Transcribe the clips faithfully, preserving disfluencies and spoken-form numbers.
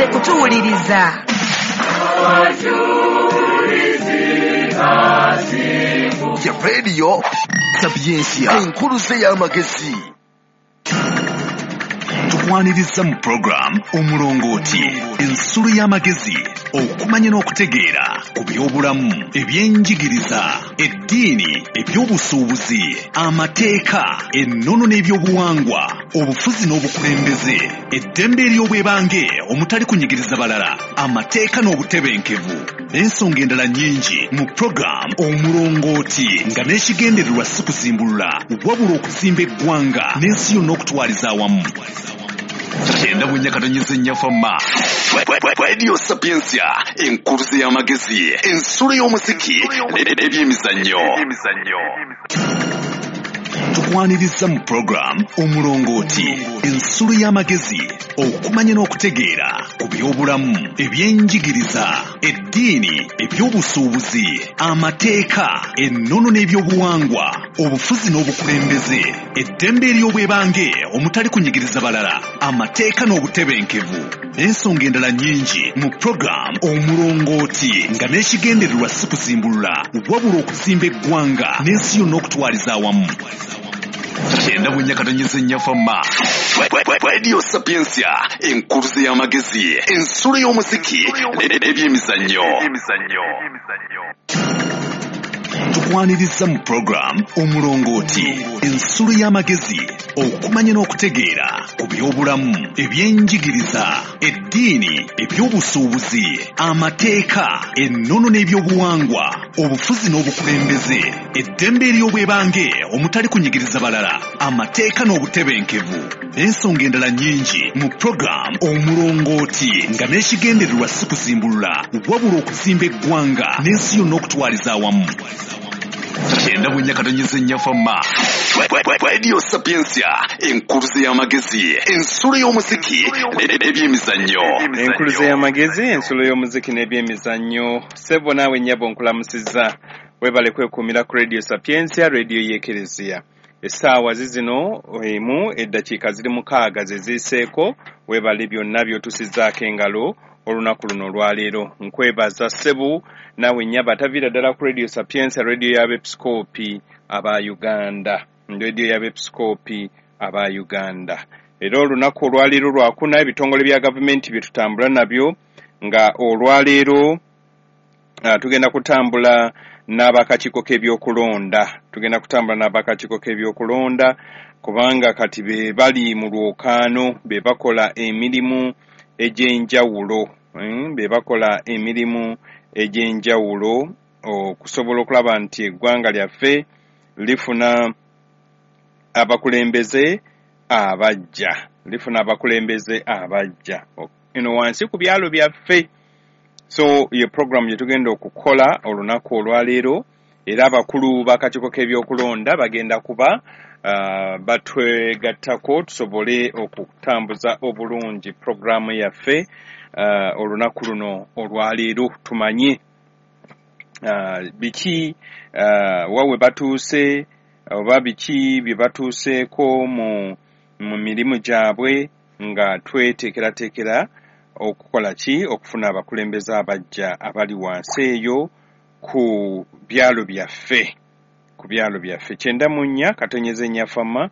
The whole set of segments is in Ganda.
Mwebale kutuwuliriza. Ya Radio Sapientia, enkuluze y'amagezi. Tukwaniriza mu program Omulongooti, ensulo y'amagezi, okumanya n'okutegeera ku by'obulamu, ebyenjigiriza, eddiini, ebyobusuubuzi, amateeka, ennono n'ebyobuwangwa, obufuzi n'obukulembeze, eddembe ery'obwebange omutali kunyigiriza balala, amateeka n'obutebenkevu, n'ensonga endala nnyingi mu program Omulongooti, nga n'ekigendererwa si kuzimbulula wabula okuzimba eggwanga n'ensi yonna okutwaliza awamu. Kyenda bunyakatonyeze nnyafama. Radio Sapientia, enkuluze y'amagezi, ensulo y'omuziki n'ebyemizannyo. Tukwaniriza mu program Omulongooti, ensulo y'amagezi, okumanya n'okutegeera ku by'obulamu, ebyenjigiriza, eddiini, ebyobusuubuzi, amateeka, ennono n'ebyobuwangwa, obufuzi n'obukulembeze, eddembe ery'obwebange omutali kunyigiriza balala, amateeka n'obutebenkevu, n'ensonga endala nnyingi mu program Omulongooti, nga n'ekigendererwa si kuzimbulula wabula okuzimba eggwanga n'ensi yonna okutwaliza awamu. Kyenda bunyakatonyeze nnyafama. Radio Sapientia, enkuluze y'amagezi, ensulo y'omuziki n'ebyemizannyo. Tukwaniriza mu program Omulongooti, ensulo y'amagezi, okumanya n'okutegeera ku by'obulamu, ebyenjigiriza, eddiini, ebyobusuubuzi, amateeka, ennono n'ebyobuwangwa, obufuzi n'obukulembeze, eddembe ery'obwebange omutali kunyigiriza balala, amateeka n'obutebenkevu, n'ensonga endala nnyingi mu program Omulongooti, nga n'ekigendererwa si kuzimbulula wabula okuzimba eggwanga n'ensi yonna okutwaliza awamu. Kyenda bunyakatonyeze nnyafama. Radio Sapientia, enkuluze y'amagezi, ensulo y'omuziki n'ebyemizannyo. Enkuluze y'amagezi, ensulo y'omuziki n'ebyemizannyo. Ssebo naawe nnyabo nkulamusizza. Webale kwekuumira ku Radio Sapientia, radio y'Ekereziya. Essaawa zizino emu eddakiika ziri mukaaga ze ziiseeko. Webale byonna by'otusizzaako engalo olunaku luno olwaleero. Nkwebaza ssebo naawe nnyabo ataviira ddala ku Radio Sapientia, radio y'abeepisikoopi aba Uganda. Radio y'abeepisikoopi aba Uganda. Era olunaku olwaleero lwakuna, ebitongole bya gavumenti bye tutambula nabyo, nga olwaleero uh, tugenda kutambula n'abakakiiko k'ebyokulonda. Tugenda kutambula n'abakakiiko k'ebyokulonda kubanga kati be bali mu lwokaano, be bakola emirimu egy'enjawulo, mm, be bakola emirimu egy'enjawulo okusobola okulaba nti eggwanga lyaffe lifuna abakulembeze abajja, lifuna abakulembeze abajja eno wansi ku byalo byaffe. So ye program gye tugenda okukola olunaku olwaleero, era abakulu b'akakiiko k'ebyokulonda bagenda kuba uh, batwegattako tusobole okutambuza obulungi programu yaffe uh, olunaku luno olwaleero, tumanye uh, biki uh, wawe batuuse oba biki bye batuuseeko mu, mu mirimu gyabwe, nga tweteekerateekera okukola ki, okufuna abakulembeze abajja abali wansi eyo ku byalo byaffe, ku byalo byaffe. Kyenda mu nnya katonyeze nnyafama,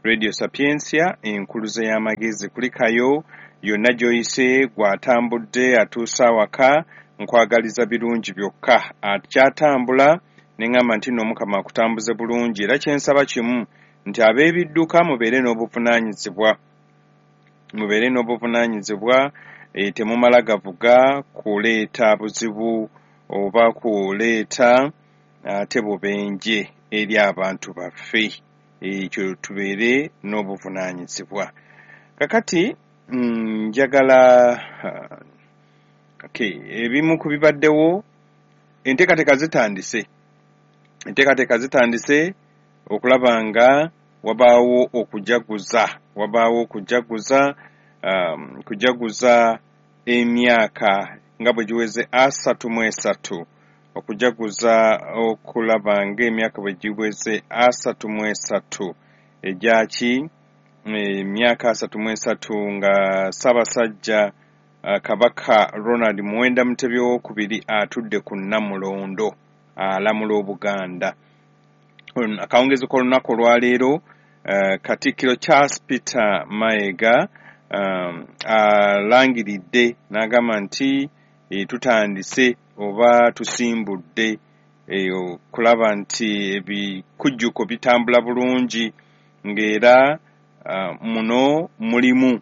Radio Sapientia, enkuluze y'amagezi. Kulikayo yonna gy'oyise, gw'atambudde atuuse awaka, nkwagaliza birungi byokka. Akyatambula ne ŋŋamba nti nno Omukama akutambuze bulungi. Era kye nsaba kimu nti ab'ebidduka mubeere n'obuvunaanyizibwa, mubeere n'obuvunaanyizibwa, e, temumala gavuga kuleeta buzibu oba kuleeta ate bubenje eri abantu baffe. Ekyo tubeere n'obuvunaanyizibwa. Kakati njagala okay, ebimu ku bibaddewo, enteekateeka zitandise, enteekateeka zitandise okulaba nga wabaawo okujaguza, wabaawo okujaguza, um, kujaguza emyaka nga bwe giweze asatu mu esatu, okujaguza okulaba ng'emyaka bwe giweze asatu mu esatu egyaki, emyaka asatu mu esatu nga Ssaabasajja uh, Kabaka Ronald Muwenda Mutebi owokubiri atudde ku Nnamulondo alamula Obuganda. Akawungezi k'olunaku olwaleero uh, Katikkiro Charles Peter Mayiga um, alangiridde n'agamba nti e, tutandise oba tusimbudde okulaba nti ebikujjuko bitambula bulungi, ng'era uh, muno mulimu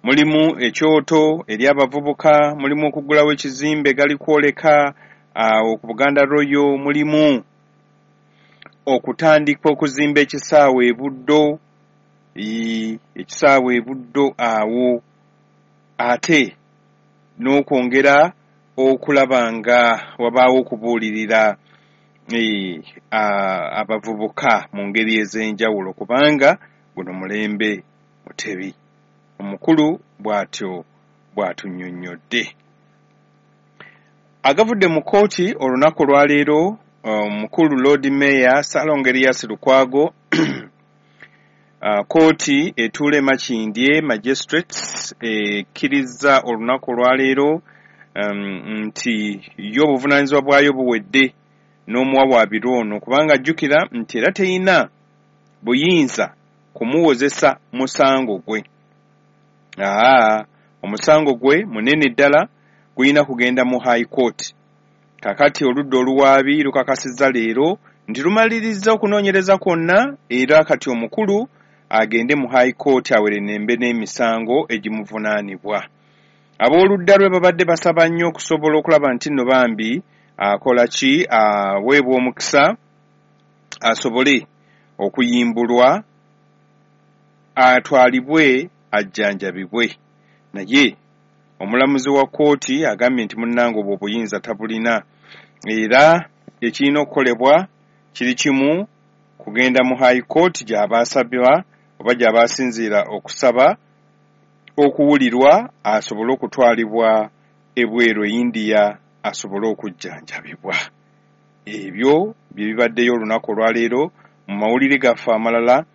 mulimu ekyoto eri abavubuka, mulimu okuggulawo ekizimbe galikwoleka awo uh, ku Buganda Royal, mulimu okutandika okuzimba ekisaawe e Buddo, ekisaawe e Buddo awo, ate n'okwongera okulaba nga wabaawo okubuulirira e, abavubuka mu ngeri ez'enjawulo, kubanga guno mulembe Mutebi. Omukulu bw'atyo bw'atunnyonnyodde. Agavudde mu kkooti olunaku olwaleero, omukulu Lord Mayor Ssalongo Erias Lukwago, kkooti etuula e Makindye Magistrates ekkiriza olunaku olwaleero um, nti yo obuvunaanyizibwa bwayo buwedde n'omuwawaabirwa ono, kubanga ajjukira nti era teyina buyinza kumuwozesa musango gwe. Aa, omusango gwe munene ddala gulina kugenda mu High Court. Kakati oludda oluwaabi lukakasizza leero nti lumalirizza okunoonyereza kwonna, era kati omukulu agende mu High Court awerenembe n'emisango egimuvunaanibwa. Ab'oludda lwe babadde basaba nnyo okusobola okulaba nti nno bambi akola ki, aweebwa omukisa asobole okuyimbulwa atwalibwe ajjanjabibwe. Naye omulamuzi wa kkooti agambye nti munnange obwo obuyinza tabulina, era ekirina okukolebwa kiri kimu, kugenda mu High Court gy'aba asabibwa oba gy'aba asinziira okusaba okuwulirwa asobole okutwalibwa ebweru e India asobole okujjanjabibwa. Ebyo bye bibaddeyo olunaku olwaleero. Mu mawulire gaffe amalala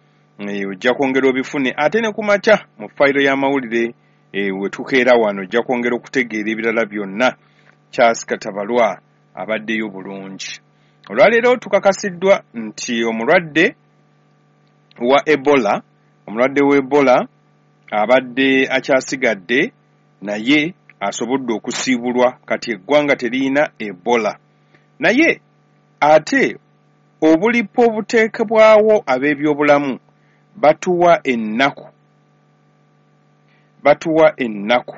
ojja kwongera obifune, ate ne ku makya mu fayiro y'amawulire we tukeera wano ojja kwongera okutegeera ebirala byonna. Charles Katabalwa abaddeyo bulungi. Olwaleero tukakasiddwa nti omulwadde wa Ebola, omulwadde wa Ebola abadde akyasigadde naye asobodde okusiibulwa, kati eggwanga teriyina Ebola. Naye ate obulipo obuteekebwawo ab'ebyobulamu batuwa ennaku batuwa ennaku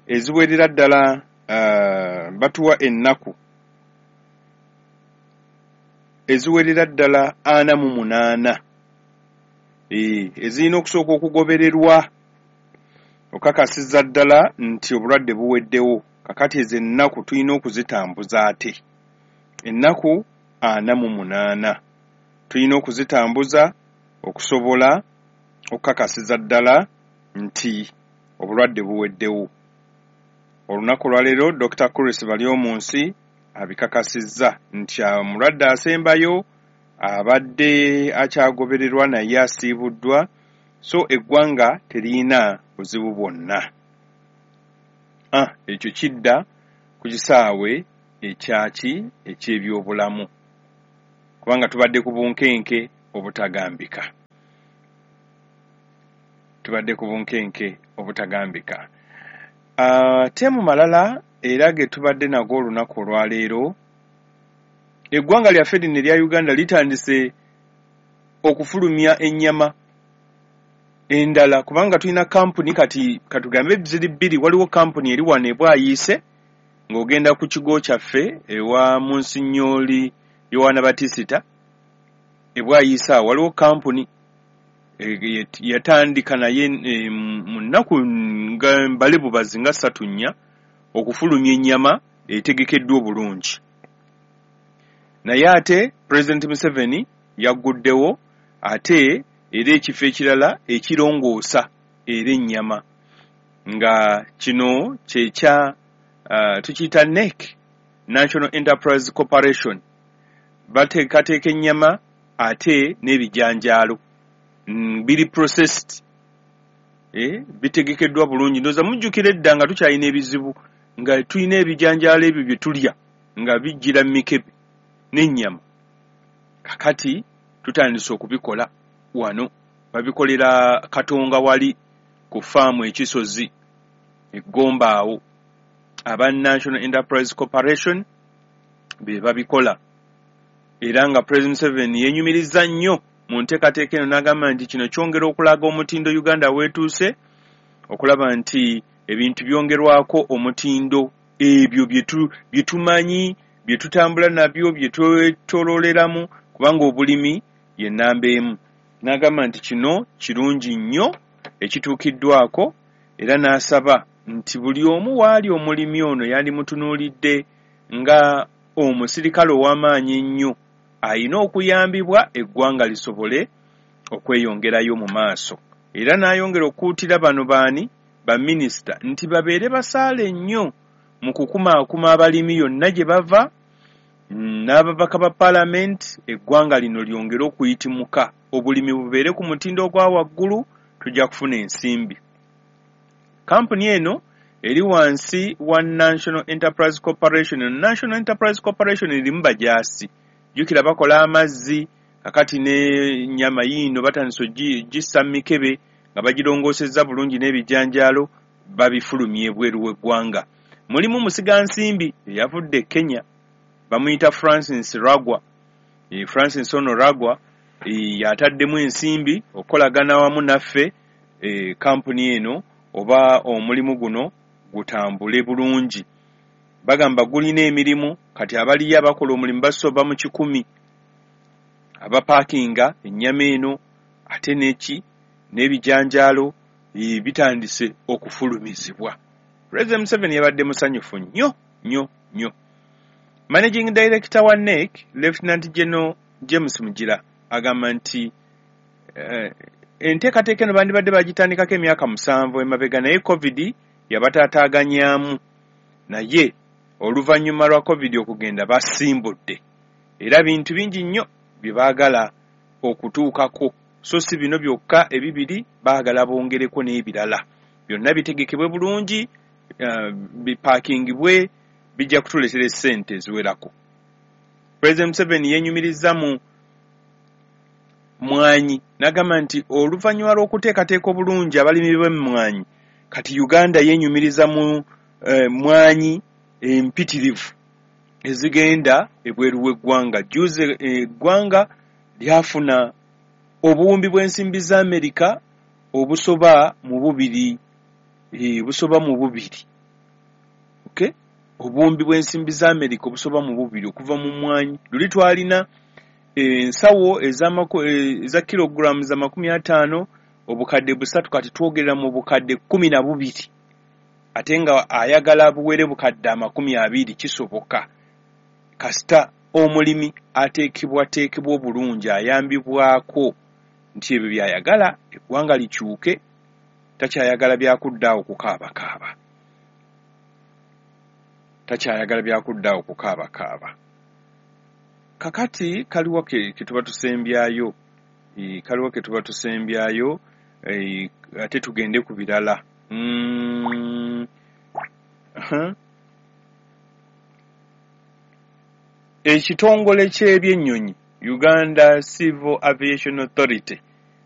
eziwerera ddala, uh, batuwa ennaku eziwerera ddala ana mu munaana e, ezirina okusooka okugobererwa okakasiza ddala nti obulwadde buweddewo. Kakati ezo ennaku tulina okuzitambuza, ate ennaku ana mu munaana tulina okuzitambuza okusobola okukakasiza ddala nti obulwadde buweddewo. Olunaku olwaleero Doctor Chris Baryomunsi abikakasizza nti omulwadde asembayo abadde akyagobererwa naye asiibuddwa, so eggwanga teriyina buzibu bwonna. Ah, ekyo kidda ku kisaawe ekyaki eky'ebyobulamu, kubanga tubadde ku bunkenke obutagambika, tubadde ku bunkenke obutagambika. Ate mu malala era ge tubadde nago olunaku olwaleero, eggwanga lyaffe lino erya Uganda litandise okufulumya ennyama endala, kubanga tulina kampuni kati katugambe ziri bbiri. Waliwo kampuni eri wano e Bwayiise ng'ogenda ku kigo kyaffe ewa Munsinyooli Yowaana Batisita e Bwayiise awo waliwo kampuni yatandika naye mu nnaku nga mbale bubazi nga ssatu nnya okufulumya ennyama etegekeddwa obulungi. Naye ate Pulezidenti Museveni yagguddewo ate era ekifo ekirala ekirongoosa era ennyama, nga kino kyekya uh, tukiyita N E C, National Enterprise Corporation. Bateekateeka ennyama ate n'ebijanjaalo mm, biri processed, eh, bitegekeddwa bulungi. Ndowooza mujjukira edda nga tukyalina ebizibu, nga tulina ebijanjaalo ebyo bye tulya nga bijjira mu mikebe n'ennyama. Kakati tutandise okubikola wano, babikolera Katonga wali ku faamu ekisozi eggomba awo, aba National Enterprise Corporation be babikola. Era nga President Museveni yenyumiriza nnyo mu nteekateeka eno n'agamba nti kino kyongera okulaga omutindo Uganda weetuuse, okulaba nti ebintu byongerwako omutindo, ebyo bye tumanyi, bye tutambula nabyo, bye twetololeramu, kubanga obulimi ye nnamba emu. N'agamba nti kino kirungi nnyo ekituukiddwako, era n'asaba nti buli omu waali omulimi ono yandimutunuulidde nga omusirikale ow'amaanyi ennyo ayina okuyambibwa eggwanga lisobole okweyongerayo mu maaso. Era n'ayongera okukuutira bano baani baminisita nti babeere basaale nnyo mu kukumaakuma abalimi yonna gye bava n'ababaka ba paalamenti, eggwanga lino lyongere okuyitimuka, obulimi bubeere ku mutindo ogwa waggulu, tujja kufuna ensimbi. Kampuni eno eri wansi wa National Enterprise Corporation. National Enterprise Corporation erimu bajaasi, jjukira bakola amazzi, kakati n'ennyama yiino batandise ogissa mu mikebe nga bagirongoosezza bulungi n'ebijanjaalo babifulumya ebweru w'eggwanga. Mulimu musigansimbi eyavudde e Kenya, bamuyita Francis Ragwa. E, Francis ono Ragwa e, yataddemu ensimbi okukolagana wamu naffe e, kampuni eno oba omulimu guno gutambule bulungi. Bagamba gulina emirimu, kati abaliyo abakola omulimu basoba mu kikumi, abapaakinga ennyama eno ate n'eki n'ebijanjaalo e, bitandise okufulumizibwa. President Museveni yabadde musanyufu nnyo nnyo nnyo. Managing Director wa N E C, Lieutenant General James Mugira, agamba nti eh, enteekateeka eno bandibadde bagitandikako emyaka musanvu emabega, naye COVID yabataataaganyaamu, naye oluvannyuma lwa COVID okugenda basimbudde, era bintu bingi nnyo bye baagala okutuukako, so si bino byokka ebibiri, baagala bongereko n'ebirala. Byonna bitegekebwe bulungi, uh, bipaakingibwe, bijja kutuleetera essente eziwerako. President Museveni yenyumiriza mu mwanyi n'agamba nti oluvannyuma lw'okuteekateeka obulungi abalimi b'emmwanyi, kati Uganda yenyumiriza mu eh, mwanyi empitirivu ezigenda ebweru w'eggwanga. Jjuuzi eggwanga lyafuna obuwumbi bw'ensimbi za Amerika obusoba mu bubiri, eh, busoba mu bubiri. Okay? Obuwumbi bw'ensimbi za Amerika obusoba mu bubiri okuva mu mwanyi. Luli twalina ensawo eza kilogrammu za makumi ataano, obukadde busatu, kati twogerera mu bukadde kkumi na bubiri, ate nga ayagala buwere bukadde amakumi abiri. Kisoboka kasita omulimi ateekebwateekebwa obulungi, ayambibwako nti ebyo by'ayagala eggwanga likyuke, takyayagala byakuddaawo kukaabakaaba, takyayagala byakuddaawo kukaabakaaba. Kakati kaliwa ke tuba tusembyayo, e, kaliwa ke tuba tusembyayo, e, ate tugende ku birala. Mm. Uh-huh. Ekitongole ky'ebyennyonyi Uganda Civil Aviation Authority